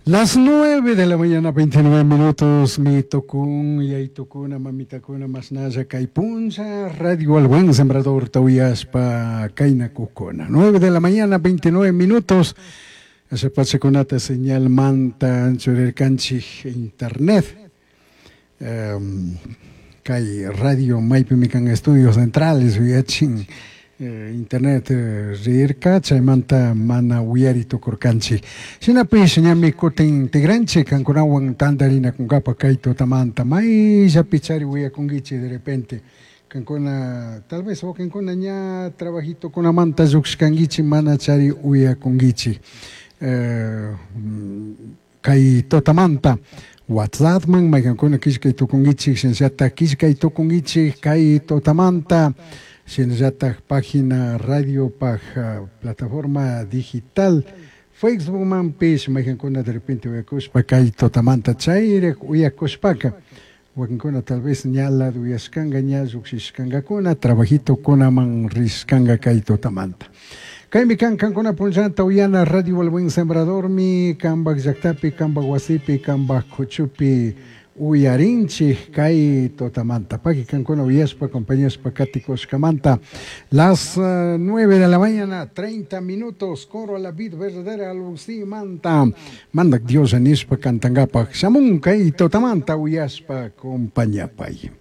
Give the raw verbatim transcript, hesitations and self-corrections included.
Las nueve de la mañana, veintinueve minutos, mi tocun, yaitukuna, mamitakuna, masnalla, kay puncha, Radio al Buen Sembrador, tauyaspa, kayna kukuna. Nueve de la mañana, veintinueve minutos, ese pachakunata señal manta, anchurirkanchik, internet. Um, kay radio maypimi kan estudios centrales, uyachin, eh, internet eh, rirka, chaymanta mana uyari tukurkanchik. Shinapish ñami kutin tigranchik kankunawan tantarinakunkapa kay tutamanta mayllapi chari uyakunkichik de repente. Kankuna tal vez wakinkuna ña trabajitokunamanta lluqshkankichik mana chari uyakunkichik. Eh, kay tutamanta WhatsAppman maykankuna killkay tukunkichik, shinallatak killkay tukunkichik kay tutamanta, shinallatak página radio paj uh, plataforma digital Facebookmanpish maykankuna de repente uyakushpa kay tutamanta chayrik uyakushpaka wakinkuna tal vez ña uyashkanka ña lluqshishkankakuna trabajitokunaman rishkanka kay tutamanta. Kaymi kan kankuna punllanta uyana Radio El Buen Sembradormi kanpak llaktapi, kanpak wasipi, kanpak kuchupi uyarinchik kay tutamanta. Paki kankuna uyashpa, acompañashpa katikushkamanta. Las uh, nueve de la mañana, treinta minutos, coro a la vid verdadera alusi manta. Mandak Dios anishpa kantangapak. Shamun kay tutamanta uyashpa compañapay.